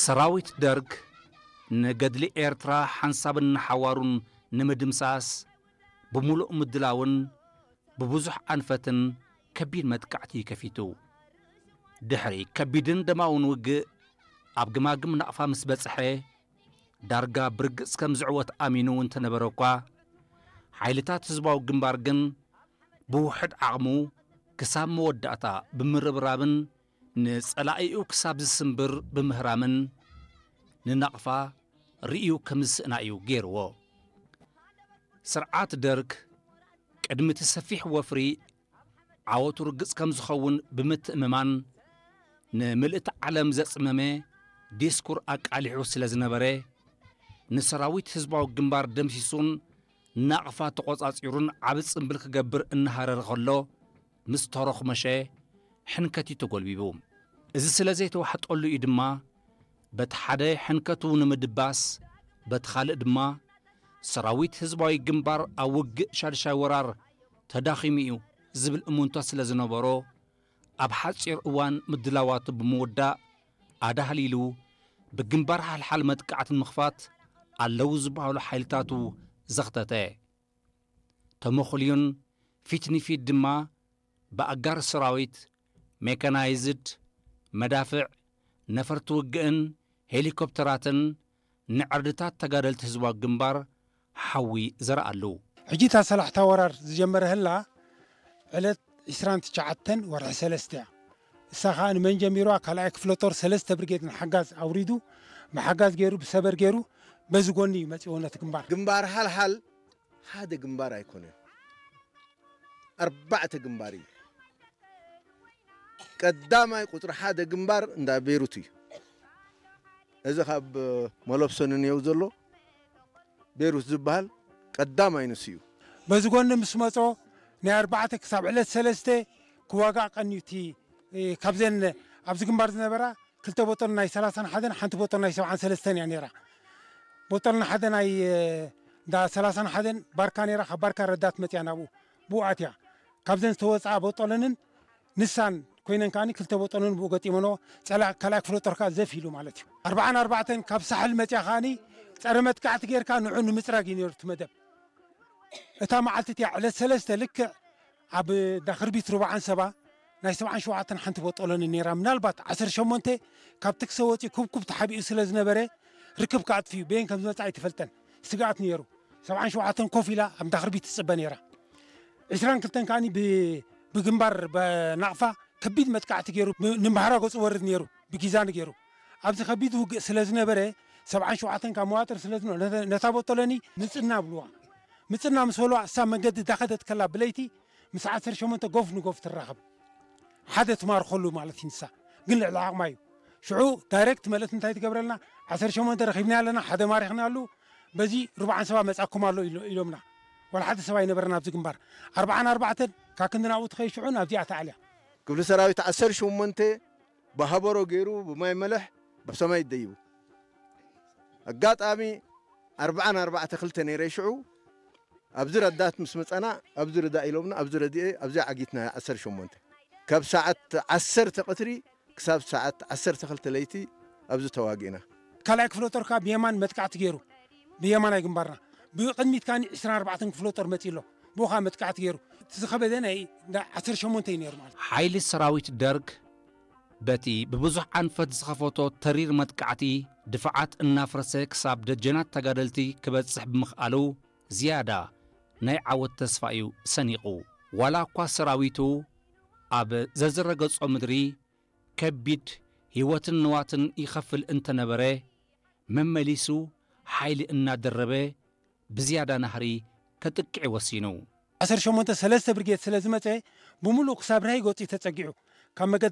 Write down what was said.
ሰራዊት ደርግ ንገድሊ ኤርትራ ሓንሳብን ንሓዋሩን ንምድምሳስ ብምሉእ ምድላውን ብብዙሕ ኣንፈትን ከቢድ መጥቃዕቲ ከፊቱ። ድሕሪ ከቢድን ደማውን ውግእ ኣብ ግማግም ናቕፋ ምስ በጽሐ፣ ዳርጋ ብርግጽ ከም ዝዕወት ኣሚኑ እንተነበረ እኳ፣ ሓይልታት ህዝባዊ ግንባር ግን ብውሕድ ዓቕሙ ክሳብ መወዳእታ ብምርብራብን ንጸላኢኡ ክሳብ ዝስምብር ብምህራምን ንናቕፋ ርእዩ ከም ዝስእና እዩ ገይርዎ። ስርዓት ደርግ ቅድሚ እቲ ሰፊሕ ወፍሪ ዓወቱ ርግጽ ከም ዝኸውን ብምትእምማን፣ ንምልእቲ ዓለም ዘጽመመ ዲስኩር ኣቃሊሑ ስለ ዝነበረ፣ ንሰራዊት ህዝባዊ ግንባር ደምሲሱን ናቕፋ ተቖጻጺሩን ዓቢ ጽምብል ክገብር እናሃረረ ከሎ፣ ምስ ተሮኽመሸ ሕንከት እዩ ተጎልቢቡ። እዚ ስለ ዘይተዋሕጠሉ እዩ ድማ፣ በቲ ሓደ ሕንከቱ ንምድባስ፣ በቲ ካልእ ድማ ሰራዊት ህዝባዊ ግንባር ኣብ ውግእ ሻድሻይ ወራር ተዳኺሙ እዩ ዝብል እሙንቶ ስለ ዝነበሮ፣ ኣብ ሓጺር እዋን ምድላዋቱ ብምውዳእ ኣዳህሊሉ ብግንባር ሓልሓል መጥቃዕቲ ንምኽፋት ኣለዉ ዝበሃሉ ሓይልታቱ ዘኽተተ። ተመኹልዩን ፊት ንፊት ድማ ብኣጋር ሰራዊት፣ ሜካናይዝድ፣ መዳፍዕ፣ ነፈርቲ ውግእን ሄሊኮፕተራትን ንዕርድታት ተጋደልቲ ህዝባዊ ግንባር ሓዊ ዘርኣሉ። ሕጂ እታ ሰላሕታ ወራር ዝጀመረ ህላ ዕለት ዕስራን ትሽዓተን ወርሒ ሰለስተ እያ። እሳ ኸኣ ንመን ጀሚርዋ? ካልኣይ ክፍለ ጦር ሰለስተ ብርጌድ ንሓጋዝ ኣውሪዱ፣ ብሓጋዝ ገይሩ፣ ብሰበር ገይሩ፣ በዚ ጎኒ እዩ መጺዎ ነቲ ግንባር። ግንባር ሓልሓል ሓደ ግንባር ኣይኮነን፣ ኣርባዕተ ግንባር እዩ። ቀዳማይ ቁጽሪ ሓደ ግንባር እንዳ ቤሩት እዩ። እዚ ካብ መለብሶ ንንየው ዘሎ ቤሩት ዝበሃል ቀዳማይ ንሱ እዩ። በዚ ጎኒ ምስ መጾ ናይ ኣርባዕተ ክሳብ ዕለት ሰለስተ ክዋጋእ ቀንዩ እቲ፣ እ፣ ካብዘን ኣብዚ ግንባር ዝነበራ ክልተ ቦጦል ናይ ሰላሳን ሓደን ሓንቲ ቦጦል ናይ ሰብዓን ሰለስተን እያ ነይራ። ቦጦል ንሓደ ናይ፣ እ፣ እንዳ ሰላሳን ሓደን ባርካ ነይራ፣ ካብ ባርካ ረዳት መጽያ ናብኡ ብኡ ኣትያ። ካብዘን ዝተወጽኣ ቦጦለንን ንሳን ኮይነን ከኣኒ ክልተ ቦጦለን ብኡ ገጢመንኦ፣ ጸላእ ካልኣይ ክፍለ ጦር ከኣ ዘፍ ኢሉ ማለት እዩ። ኣርባዓን ኣርባዕተን ካብ ሳሕል መጽያ ከኣኒ ጸረ መጥቃዕቲ ጌርካ ንዑ ንምጽራግ እዩ ነይሩ እቲ መደብ። እታ መዓልቲ እቲኣ ዕለት ሰለስተ ልክዕ ኣብ ዳኽርቢት ሩባዓን ሰባ ናይ ሰብዓን ሸውዓተን ሓንቲ ቦጦለን ነይራ። ምናልባት ዓሰርተ ሸሞንተ ካብ ትክሰ ወጺኡ ኩብኩብ ተሓቢኡ ስለ ዝነበረ ርክብ ከኣጥፍዩ በየን ከም ዝመጽኣ ኣይተፈልጠን። ስግኣት ነይሩ። ሰብዓን ሸውዓተን ኮፍ ኢላ ኣብ ዳኽርቢት ትጽበ ነይራ። ዕስራን ክልተን ከኣኒ ብ-፣ ብግንባር በ-፣ ናቕፋ ከቢድ መጥቃዕቲ ገይሩ ብ-፣ ንመሃራ ገጹ ወርድ ነይሩ፣ ብጊዛኒ ገይሩ። ኣብዚ ከቢድ ውግእ ስለ ዝነበረ፣ ሰብዓን ሸውዓተን ካብ መዋጥር ስለ ዝነበረ፣ ነተ-፣ ነታ ቦጦለኒ ምጽና ብልዋ። ምጽና ምስ በልዋ፣ እሳ መንገዲ ዳኸደት ከላ ብለይቲ፣ ምስ ዓሰርተ ሸሞንተ ጎፍ ንጎፍ ትራኸብ። ሓደ ትማርኸሉ ማለት እዩ ንሳ። ግን ልዕሊ ዓቕማ እዩ። ሽዑ ዳይሬክት መልእክቲ እንታይ ትገብረልና? ዓሰርተ ሸሞንተ ረኺብና ኣለና፣ ሓደ ማሪኽና ኣሉ፣ በዚ ሩብዓን ሰባ መጻኩም ኣሎ ኢሎ-፣ ኢሎምና። ዋላ ሓደ ሰብ ኣይነበረን ኣብዚ ግንባር። ኣርባዓን ኣርባዕተን ካብ ክንዲ ናብኡ ትኸይድ ሽዑ ናብዚኣ ተኣልያ። ክፍሊ ሰራዊት ዓሰርተ ሸሞንተ ብሃበሮ ገይሩ ብማይ መለሕ ብሰማይ ይደይቡ። ኣጋጣሚ ኣርባዓን ኣርባዕተ ክልተ ነይረ ሽዑ። ኣብዚ ረዳት ምስ መጻና፣ ኣብዚ ርዳ ኢሎምና፣ ኣብዚ ረድኤ፣ ኣብዚ ዓጊትና ዓሰርተ ሸሞንተ። ካብ ሰዓት ዓሰርተ ቀትሪ ክሳብ ሰዓት ዓሰርተ ክልተ ለይቲ ኣብዚ ተዋጊእና። ካልኣይ ክፍለ ጦር ከኣ ብየማን መጥቃዕቲ ገይሩ፣ ብየማናይ ግንባርና። ብቕድሚት ከኣ ዕስራን ኣርባዕተን ክፍለ ጦር መጺኡ ኣሎ። ብኡ ከኣ መጥቃዕቲ ገይሩ። እቲ ዝኸበደ ናይ ዓሰርተ ሸሞንተ እዩ ነይሩ ማለት። ሓይሊ ሰራዊት ደርግ በቲ ብብዙሕ ኣንፈት ዝኸፈቶ ተሪር መጥቃዕቲ፣ ድፋዓት እናፍረሰ ክሳብ ደጀናት ተጋደልቲ ክበጽሕ ብምኽኣሉ፣ ዝያዳ ናይ ዓወት ተስፋ እዩ ሰኒቑ። ዋላ እኳ ሰራዊቱ ኣብ ዘዝረገጾ ምድሪ ከቢድ ህይወትን ንዋትን ይኸፍል እንተነበረ፣ መመሊሱ ሓይሊ እናደረበ ብዝያዳ ናህሪ ከጥቅዕ ወሲኑ። ዓሰርተ ሸሞንተ ሰለስተ ብርጌድ ስለ ዝመጸ፣ ብምሉእ ክሳብ ራሂ ገጹ እዩ ተጸጊዑ። ካብ መገዲ